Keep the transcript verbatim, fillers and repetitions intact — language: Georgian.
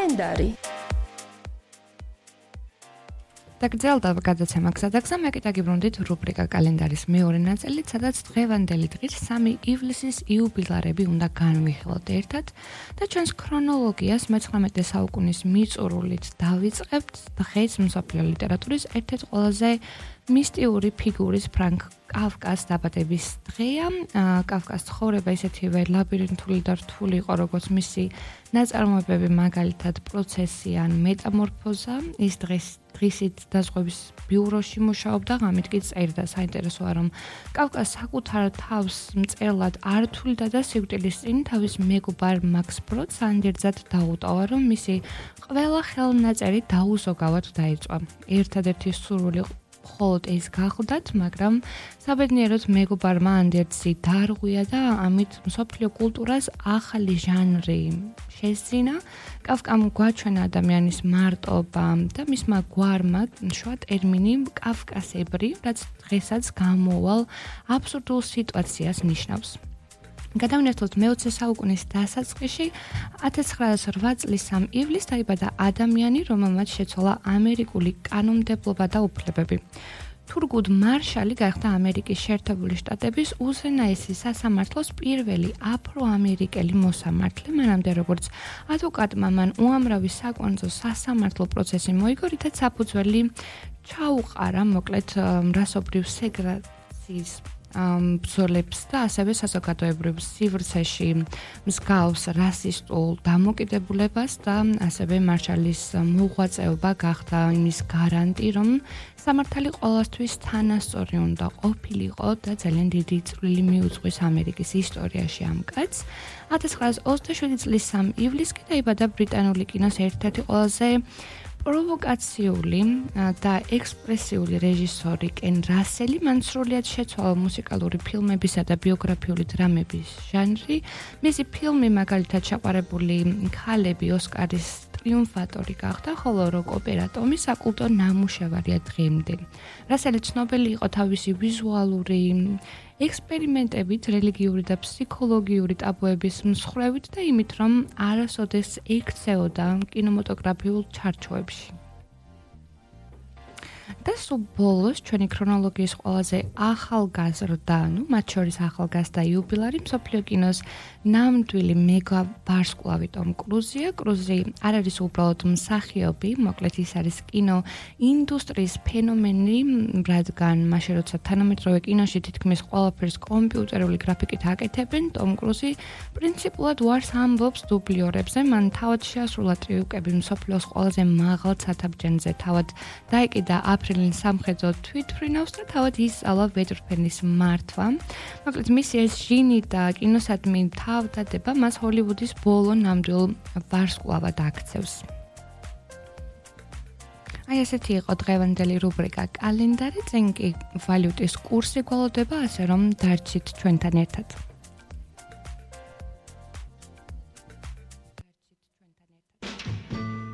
კალენდარი. დაგრძელდა გადაცემა გზადაგზა, მე კი დაგიბრუნდით რუბრიკა კალენდარის მეორე ნაწილით, სადაც დღევანდელი დღის სამი ივლისის იუბილარები უნდა განვიხილოთ ერთად და ჩვენს ქრონოლოგიას მეცხრამეტე საუკუნის მიწურულით დავიწყებთ. დღეს მსოფლიო ლიტერატურის ერთ-ერთი ყველაზე მისტიური ფიგურის ფრანკ კაფკას დაბადების დღეა. კაფკას ცხოვრება ისეთივე ლაბირინთული და რთული იყო, როგორც მისი ნაწარმოებები, მაგალითად პროცესი ან მეტამორფოზა. ის დღეს დღისით დაზღვევის ბიუროში მუშაობდა, ღამით კი წერდა. საინტერესოა, რომ კაფკას საკუთარ თავს მწერლად არ თვლიდა და სიკვდილის წინ თავის მეგობარ მაქს ბროდს ანდერძად დაუტოვა, რომ მისი ყველა ხელნაწერი დაუზოგავად დაიწვა. ერთადერთი სურვილი მხოლოდ ეს გახლდათ, მაგრამ საბედნიეროდ მეგობარმა ანდერძი დაარღვია და ამით მსოფლიო კულტურას ახალი ჟანრი შესძინა. კაფკამ გვაჩვენა ადამიანის მარტობა და მისმა გვარმა შვა ტერმინი კაფკასებრი, რაც დღესაც გამოვალ აბსურდულ სიტუაციას ნიშნავს. გადავნერთოთ მეოცე საუკუნის დასაწყისში, ათას ცხრაასი ორი წლის სამი ივლისს დაიბადა ადამიანი, რომელმაც შეცვალა ამერიკული კანონმდებლობა და უფლებები. თურგუდ მარშალი გახდა ამერიკის შეერთებული შტატების უზენაესი სასამართლოს პირველი აფრო-ამერიკელი მოსამართლე, მანამდე როგორც ადვოკატმა მან უამრავი საკონძო სასამართლო პროცესი მოიგო, რითაც საფუძველი ჩაუყარა მოკლედ რასობრივ სეგრეგაციის ბრძოლებს და ასევე საზოგადოებრივ სივრცეში მსგავს რასისტულ დამოკიდებულებას და ასევე მარშალის მოღვაწეობა გახდა იმის გარანტი, რომ სამართალი ყოველთვის თანასწორი უნდა ყოფილიყო და ძალიან დიდი წვლილი მიუძღვის ამერიკის ისტორიაში ამ კაცს. ათას ცხრაასი ოცდაშვიდი წლის სამი ივლისს კი დაიბადა ბრიტანული კინოს ერთ-ერთი ყველაზე პროვოკაციული და ექსპრესიული რეჟისორი კენ რასელი. მან სრულიად შეცვალა მუსიკალური ფილმებისა და ბიოგრაფიული დრამების ჟანრი. მისი ფილმი მაგალითად შეყვარებული ქალები ოსკარის ტრიუმფატორი გახდა, ხოლო როკ ოპერა ტომი საკულტო ნამუშევარია დღემდე. რასელი ცნობილი იყო თავისი ვიზუალური ექსპერიმენტებით, რელიგიური და ფსიქოლოგიური ტაბუების მსხვერპლით და იმით, რომ არასოდეს ექცეოდა კინემატოგრაფიულ ჩარჩოებში. და სულ ბოლოს ჩვენი ქრონოლოგიის ყველაზე ახალგაზრდა, ну, მათ შორის ახალგაზრდა იუბილარი მსოფლიო კინოს ნამდვილი მეგა ვარსკვლავი ტომ კრუზია. კრუზი არ არის უბრალოდ მსახიობი, მოკლედ ის არის კინო ინდუსტრიის ფენომენი, რადგან მაშინ როცა თანამედროვე კინოში თითქმის ყველაფერს კომპიუტერული გრაფიკით აკეთებენ, ტომ კრუზი პრინციპულად უარს ამბობს დუბლიორებზე. მან თავად შეასრულა ტრიუკები მსოფლიოს ყველაზე მაღალ ცათამბჯენზე, თავად დაიკიდა აფრილინ სამხედრო თვითმფრინავს და თავად ისწავლა ვეჭრფენის მართვა. მოკლედ მისი ეს ჟინი და კინოსადმი თავდადება მას ჰოლივუდის ბოლო ნამდვილ ვარსკვლავად აქცევს. აი ესეთი იყო დღევანდელი რუბრიკა კალენდარი, წინ კი ვალუტის კურსი გვალოდება, ასე რომ დარჩით ჩვენთან ერთად.